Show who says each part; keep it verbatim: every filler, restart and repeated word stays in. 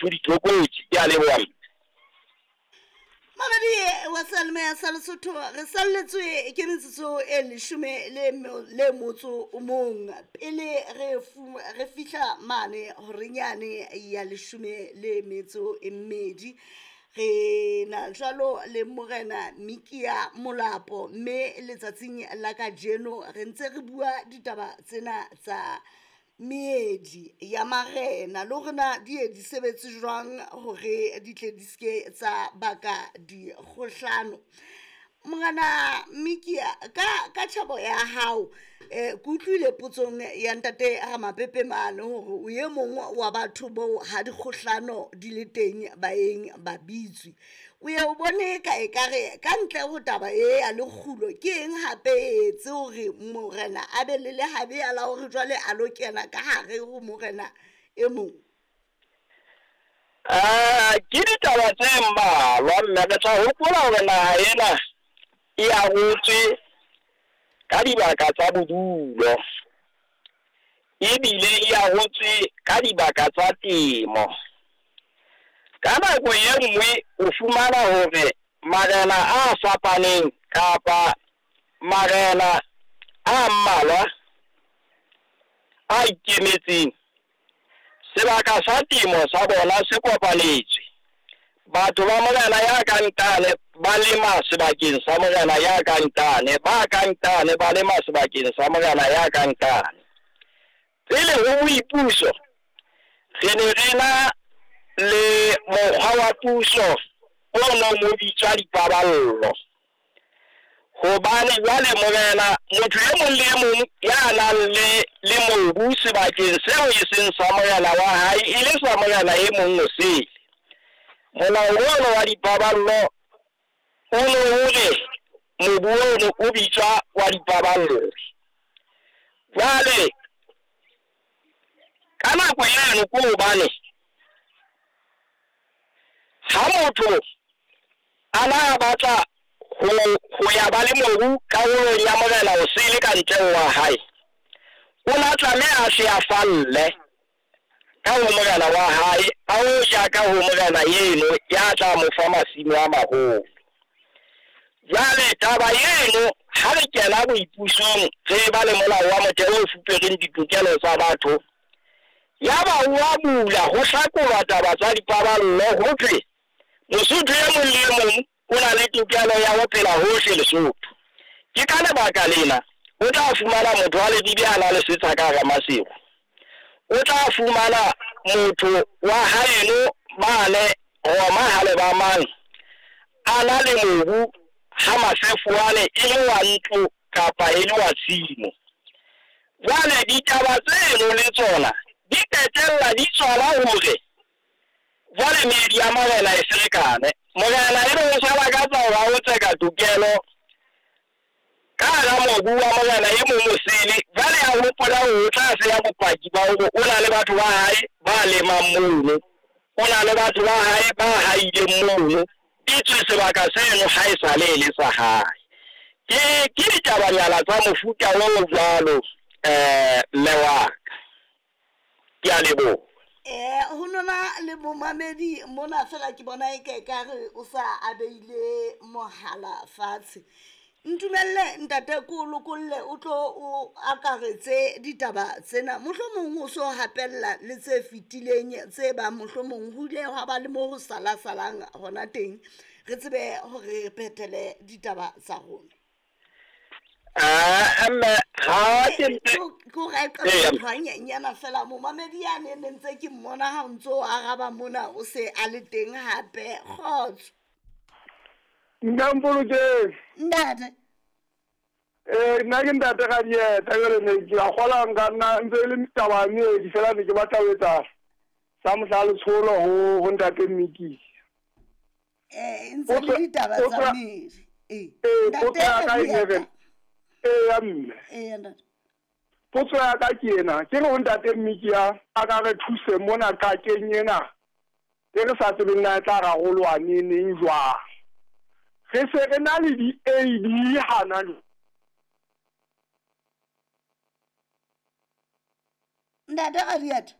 Speaker 1: Dithokotsi. Ke a leboha.
Speaker 2: Mamedi wa Salme sa Lesotho, re salletswe ke metsotso e leshome le le motso o mong pele re re fihla mane horenyane ya leshome le metso e mmedi. Re na jwalo le Morena Mikia Molapo, mme letsatsing la kajeno re ntse re bua ditaba tsena tsa meedi ya marena le hore na di ye di sebetse jwang hore di tle di ske tsa baka dikgohlano. Morena Mikia, ka ka tjhebo ya hao, eh ke utlwile potsong ya ntate Ramapepe mane hore o e mong wa batho boo ha dikgohlano di le teng ba eng ba bitswe. O ye o bone ka ekare ka ntle ho taba e ya lekgulo, ke eng hape e etse hore morena a be le lehabe la hore jwale a lo kena ka hare ho morena e mong?
Speaker 1: Ah, ke ditaba tse mmalwa, mme re tla hopola hore naha ena e arotswe ka dibaka tsa bodulo, ebile e arotswe ka dibaka tsa temo. Ka nako e nngwe o fumana hore marena a fapaneng kapa marena a mmalwa a ikemetseng, sebaka sa temo sa bona se kopanetswe. Batho ba morena ya ka ntane ba lema sebakeng sa morena ya ka ntane, ba ka ntane ba lema sebakeng sa morena ya ka ntane. Pele ho boipuso re ne re na le mokgwa wa puso o nong o bitswa dipaballo. Hobane jwale morena, motho e mong le e mong ya nang le le mobu sebakeng seo e seng sa morena wa hae, e le sa morena e mong o sele. Molao ono wa dipaballo o no hore mobu ono o bitswa wa dipaballo. Jwale ka nako eno ke hobane ha motho a na a batla ho ho ya ba le mobu karolong ya morena o sele ka ntle wa hae, o na tlameha a hle a falle ka ho morena wa hae, a o ja ka ho morena eno ya tla mo fa masimo a maholo. Jwale taba eno ha re kena boipusong re ba le molao wa motheo o fupereng ditokelo tsa batho, ya ba wa bula ho hlakolwa taba tsa dipaballo, ho thwe Mosotho e mong le e mong o na le tokelo ya ho phela hohle Lesotho. Ke ka lebaka lena o tla fumana motho wa Leribe a na le setsha ka hara Maseru, o tla fumana motho wa haeno mane Roma ha le ba mang a na le mobu ha Masefoane e le wa ntlo kapa e le wa tshimo. Jwale ditaba tseno le tsona di qetella di tswala hore jwale meedi ya marena e ferekane. Morena e be o sa lakatsa hore a o tseka tokelo ka hara mobu wa morena e mong o sele. Jwale a hopola hore o tla seya bopaki ba hore o na le batho ba hae ba lemang mono, o na le batho ba hae ba haileng mono, etswe sebaka seno ha e sale e le sa hae. Ke ke ditabanyana tsa mofuta o jwalo, eh mme wa ka. Ke a leboha.
Speaker 2: Eh ho nona le momamedi mona fela ke bona e ka ekare o sa a beile mohala fatshe. Ntumelle ntate ko lokolle o tlo o akaretse ditaba tsena, mohlomong o so hapella le tse fetileng tse bang mohlomong ho ile hwa ba le mo ho sala salang hona teng, re tsebe hore re phethele ditaba tsa rona.
Speaker 1: Ah, mme ha ke ntse
Speaker 2: Ke hore a qala ntho a nyenyana fela, momamedi yane ne ntse ke mmona ha o ntso araba mona o se a le teng hape. Kgotso.
Speaker 3: Nka mpolokeng.
Speaker 2: Ntate.
Speaker 3: Eh, nna ke ntate Radieta, jwale ne ke a kgola nka nna ntse e le taba ya meedi fela, ne ke batla ho etsa sa mohla letsholo ho ho ntate Miki.
Speaker 2: Eh, ntse le ditaba tsa meedi. Eh,
Speaker 3: Eh,
Speaker 2: ntate
Speaker 3: potso ya ka e
Speaker 2: Radieta.
Speaker 3: ne re, eh, ya mme.
Speaker 2: Eh, ntate.
Speaker 3: Potso ya ka ke ena, ke re ho ntate Miki a a ka re thuse mona qakeng ena e re sa tsebeng na e tla rarolwa neneng jwang. Re se re na le di-A D hana jwale.
Speaker 2: Ntate Radieta.